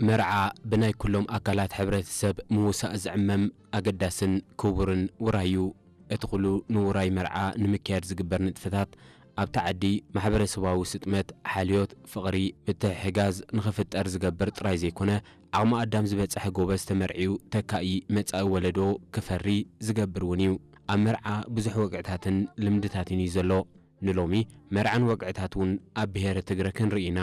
መርዓ ብናይ ኩሎም ኣካላት ሕብረተሰብ ምውሳእ ዝዕመም ኣገዳስን ክቡርን ውራይ እዩ። እቲ ኩሉ ንውራይ መርዓ ንምክያድ ዝግበር ንጥፈታት ኣብቲ ዓዲ ማሕበረሰባዊ ስጥመት፣ ሓልዮት፣ ፍቕሪ፣ ምትሕሕጋዝ ንኽፍጠር ዝገብር ጥራይ ዘይኮነ፣ ዓቕሚ ኣዳም ዝበጽሐ ጎበዝ ተመርዕዩ ተካኢ መጻኢ ወለዶ ክፈሪ ዝገብር እውን እዩ። ኣብ መርዓ ብዙሕ ወግዕታትን ልምድታትን እዩ ዘሎ። ንሎሚ መርዓን ወግዕታት እውን ኣብ ብሄረ ትግረ ክንርኢ ኢና።